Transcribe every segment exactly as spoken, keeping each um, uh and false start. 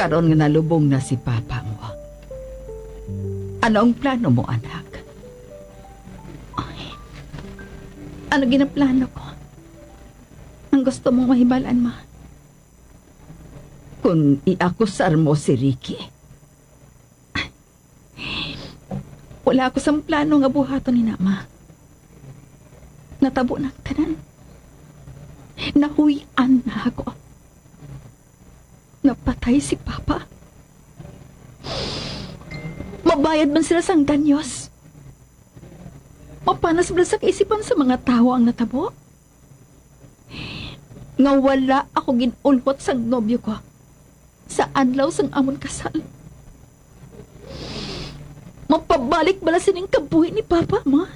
Karon nga nalubong na si papa mo, ano ang plano mo, anak? Ay, ano ginaplano ko? Ang gusto mong mahibalan, ma? Kung iakusar mo si Ricky, wala ako sang plano nga buhaton ni na, ma. Natabo na ang tanan. Nahuy-an na ako. Napatay si Papa. Mabayad man sila sang danyos. Mapanas bala sa kaisipan sa mga tawo ang natabo. Nga wala ako gin-ulhot sang nobyo ko sa adlaw sang amon kasal. Mapabalik bala sining kabuhi ni Papa, ma?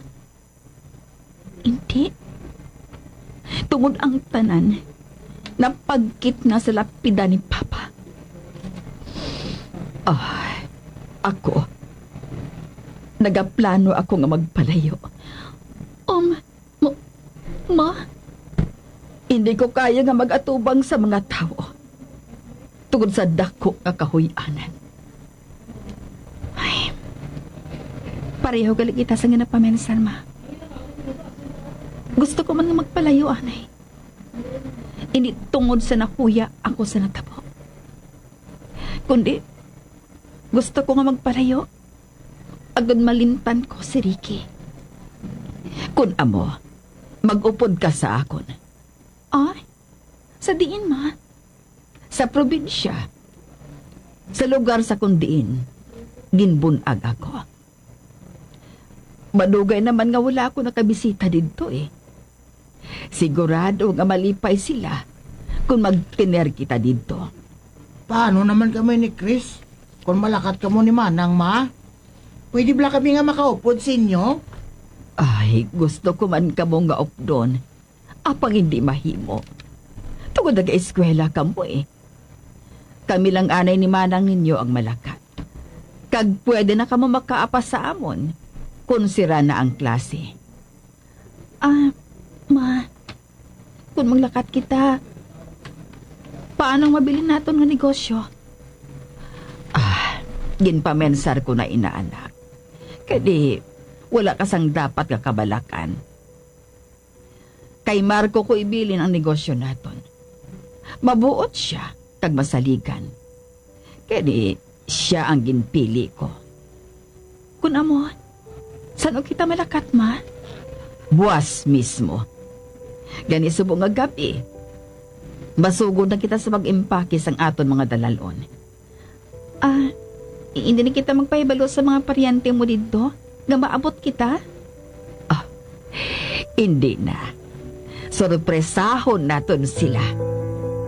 Hindi. Tungod ang tanan, napagkit na sa lapida ni Papa. Ah, ako, nagaplano ako nga magpalayo. Um, ma, ma, hindi ko kaya nga mag-atubang sa mga tawo tungod sa dako nga kahuy-anan. Ay, pareho gali kita sa ginapamensar, ma. Gusto ko man nga magpalayo, anay. Hindi tungod sa nahuya ako sa natabo, kundi gusto ko nga magpalayo agud malimtan ko si Ricky. Kun amo, mag-upod ka sa akon. Ay, sa diin, ma? Sa probinsya, sa lugar sa kun diin ginbun-ag ako. Madugay naman nga wala ako nakabisita didto, eh. Sigurado nga malipay sila kung magtener kita didto. Paano naman kami ni Chris? Kung malakat kamo ni Manang, ma? Pwede bala kami nga makaupod sa inyo? Ay, gusto ko man kamo nga updon. Apang hindi mahimo. Tungod nag-eskwela kamo, eh. Kami lang anay ni Manang ninyo ang malakat. Kag pwede na kamo makaapas sa amon kung sira na ang klase. Ah, ma, kung maglakat kita, paano ang mabilin naton nga negosyo? Ah, ginpamensar ko na ina, anak. Kay di, wala ka sang dapat nga kabalakan. Kay Marco ko ibilin ang negosyo naton. Mabuot sia kag masaligan. Kay di, sia ang ginpili ko. Kun amo, san-o kita malakat, ma? Buas mismo. Gani, subong nga gab-i, masugod na kita sa pag-impake sang aton mga dalalon. Ah, hindi na kita magpahibalo sa mga paryente mo didto nga maabot kita? Ah, hindi na. Sorpresahon naton sila.